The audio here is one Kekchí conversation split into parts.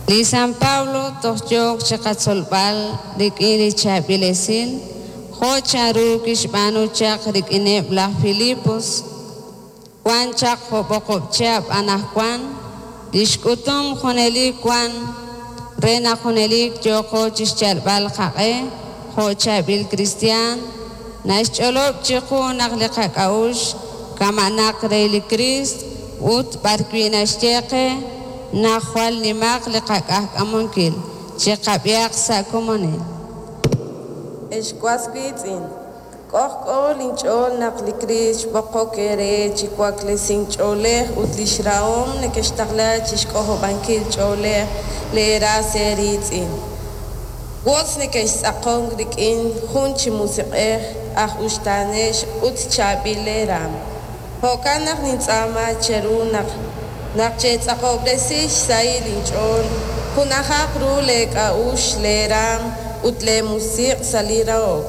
Li San Pablo toj yook chiqatzolb'al rik'in li chaab'il esil, jo' chanru kixb'aanu chaq rik'ineb' laj Filipos wan chaq jo'b'oqob' chihab' anaqwan. Lix k'utum junelik wan re naq junelik yooqo chixyalb'al qaq'e jo' chaab'il kristiaan. Naxch'olob' chiqu naq li qak'a'uxl kama'naq re li Kriist ut b'arwi' naxye qe naq jwal nimaq li qak'ajk'amunkil. Chiqab'ihaq sa' komonil. Ex was wiitz'in, k'ojk'o linch'ool naq li Kriist xb'oqok eere chi waklesink ch'oolej ut li xrahom nekextaqla chi xk'ojob'ankil ch'oolej leeras eeriitz'in. Wotz nekextz'aqonk rik'in jun chi musiq'ej aj uxtaanex ut chaab'il leeraanm. Jo'kan naq nintz'aama cheru naq naq cheetz'aqob'resi xsahil inch'ool, junajaq ru leek'a'uxl, leeraanm ut leemusiq' sa' li rahok.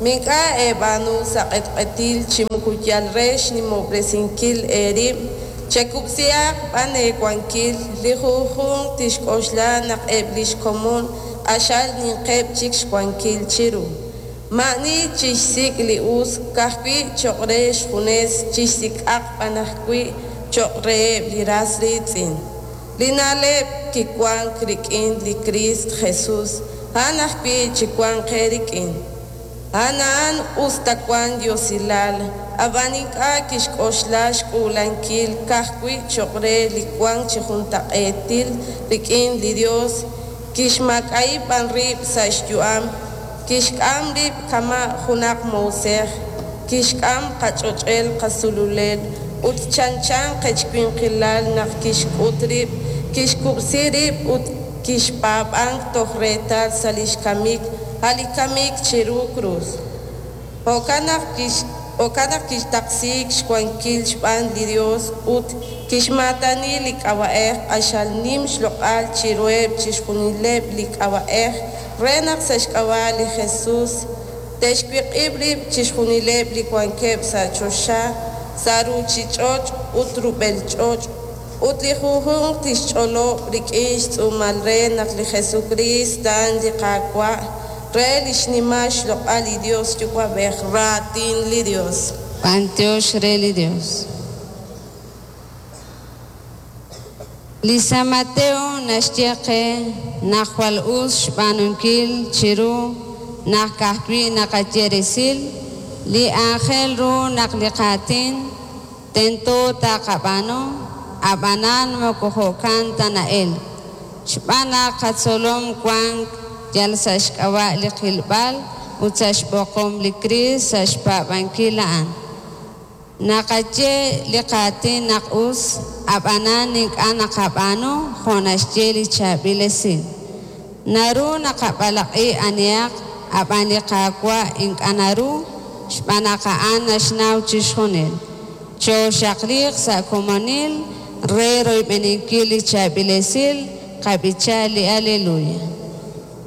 Mink'a' eeb'aanu sa' q'etq'etil chi moko yal re xnimob'resinkil eerib', chekub'sihaq b'an eewankil, li junjunq tixk'oxla naq eb' li xkomon q'axal ninqeb' chik xwankil chiru. Maa'ani chixsik' li us ka'ajwi' cho'q re xjunes, chixsik'aq b'an ajwi' cho'q reheb' li ras riitz'in. Li na'leb' kiwank rik'in li Kriist Jesus, a'an ajwi' chiwanq eerik'in. A'an a'an us ta wank yosilal, ab'an ink'a' kixk'oxla xk'uulankil ka'ajwi' cho'q re li wank chi juntaq'eetil rik'in li Yos, kixmaak'a'i b'an rib' sa' xyu'am, kixk'am rib' kama' junaq moosej, kixk'am qach'och'el qasululel ut chanchan qechwinqilal naq kixk'ut rib', kixkub'si rib' ut kixpaab'ank toj reetal sa' li xkamik, a' li kamik chiru krus. Jo'kan naq jo'kan naq kixtaqsiik xwankil xb'aan li Yos ut kixmaatani li k'ab'a'ej q'axal nim xloq'al chiruheb' chixjunileb' li k'ab'a'ej re naq sa' xk'ab'a' li Jesus te'xwiq'ib' rib' chixjunileb' li wankeb' sa' choxa, sa' ruuchich'och' ut rub'el ch'och', ut li junjunq tixch'olob' rik'in xtz'uumal re naq li Jesukriist a'an li Qaawa' re li xnimal xloq'al li Yos Yuwa'b'ej. Raatin li Yos. B'antiox re li Dios. Li San Mateo naxye qe naq jwal us xb'aanunkil chiru naq ka'ajwi' naqaye resil li aajel ru naq li qaatin tento taqab'aanu, ab'anan moko jo'kan ta na'elk. Xb'aan naq qatzolom wank yal sa' xk'ab'a' li qilb'al ut sa' xb'oqom li Kriist sa' xpaab'ankil a'an. Naqaye li qaatin naq us, ab'anan ink'a' naqab'aanu jo' naxye li chaab'il esil. Naru naqab'alaq'i anihaq, ab'an li Qaawa' ink'a' naru, xb'aan naq a'an naxnaw chixjunil. Chooxaqliiq sa' komonil re royb'eninkil li chaab'il esil, qab'icha li Aleluya.